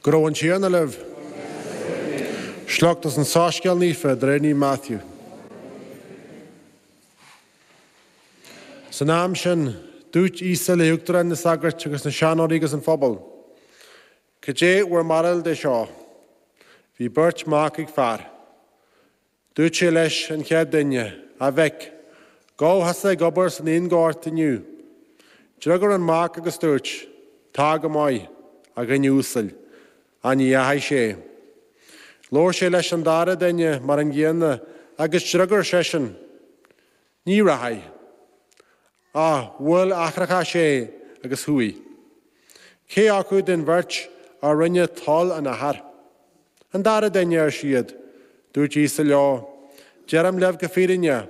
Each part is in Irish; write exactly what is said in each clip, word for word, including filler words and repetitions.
Go raibh an Tiarna libh. Sliocht as an Soiscéal Naofa de réir Naomh Matthew. San am sin, dúirt Íosa le huachtaráin na sagart agus na seanóirí agus an phobal. Cad é bhur mbarúil de seo. Bhí beirt mhac ag fear. Dúirt sé leis an chéad duine, a mhic, gabh thusa ag obair san fhíonghort inniu. D'fhreagair an mac agus dúirt, Tá go maith, a dhuine uasail, ach ní dheachaigh sé. Labhair sé leis an dara duine mar an gcéanna agus d'fhreagair seisean, Ní rachaidh. Ach bhuail eachracha sé agus chuaigh. Cé acu den bheirt a rinne toil an athar? An dara duine ar siad, dúirt Íosa leo, Deirim libh go fírinne,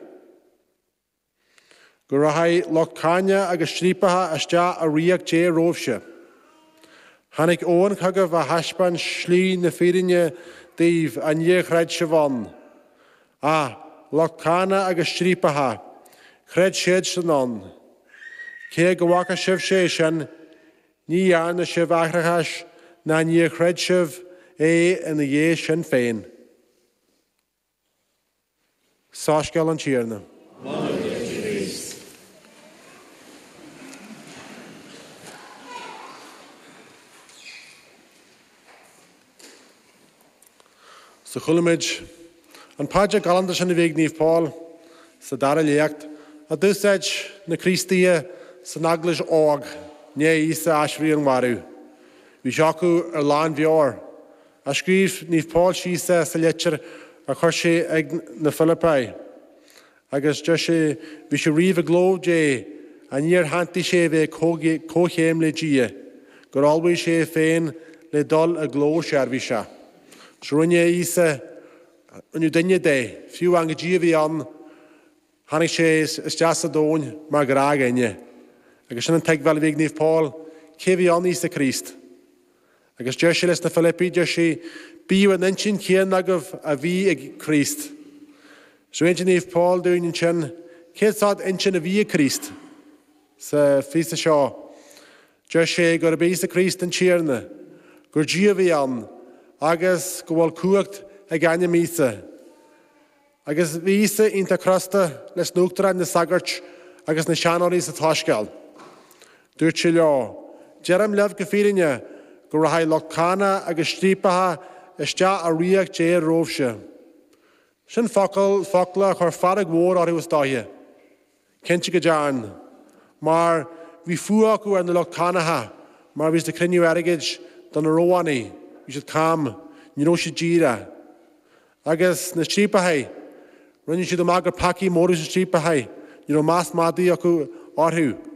go rachaidh lucht cáinte agus striapacha isteach i ríocht Dé romhaibhse. Tháinig Eoin chugaibh a thaispeáin slí na fírinne daoibh ach níor chreid sibh ann. Ach lucht cáinte agus striapacha, chreid siadsan ann. Cé go bhfaca sibh sé sin, ní dhearna sibh aithreachas ná níor chreid sibh é ina dhiaidh sin féin. Soiscéal an Tiarna. So chuala muid an paidir galánta sin a bhí ag Naomh Paul sa dara léacht a d'úsáid na Críostaithe san eaglais óg i ndiaidh Íosa aiséirí ón marbh. Bhí sé acu ar lánmheabhair. A scríobh Naomh Paul síos é sa litir a chuir sé ag na Filipigh. Agus deir sé bhí sé riamh i gcló Dé ach níor shantaigh sé a bheith comhchéim le Dia, gur ullmhaigh sé féin le dul i gcló seirbhíseach. So rinne Íosa rinneadh duine de, fiú amháin gur Dia a bhí ann, tháinig sé isteach sa domhan mar ghnáthdhuine. Agus sin an tuigbheáil a bhí ag Naomh Paul, cé bhí ann Íosa Críost. Agus deir sé leis na Filipigh, deir sé, bíodh an intinn chéanna agaibh a bhí ag Críost. So insíonn Naomh Paul dúinn ansin, cén sórt intinn a bhí ag Críost sa phíosa seo. Deir sé gurb é Íosa Críost an Tiarna, gur Dia a bhí ann, agus go bhfuil cumhacht ag ainm Íosa. Agus bhí Íosa iontach crosta leis na huachtaráin na sagairt agus na seanóirí sa tSoiscéal. Dúirt sé leo, Deirim libh go fírinne go rachaidh lucht cáinte agus striapacha isteach i ríocht Dé romhaibhse. Sin focal focla a chuir fearg mhór orthu is dóiche. Cinnte go dearn, mar bhí fuath acu ar na lucht cánacha, mar bhí siad ag cruinniú airgid do na Rómhánaigh, bhí siad cam, ní raibh siad díreach. Agus na striapacha, rinne siad amach gur peacaí móra na striapacha, ní raibh meas madaidh acu orthu.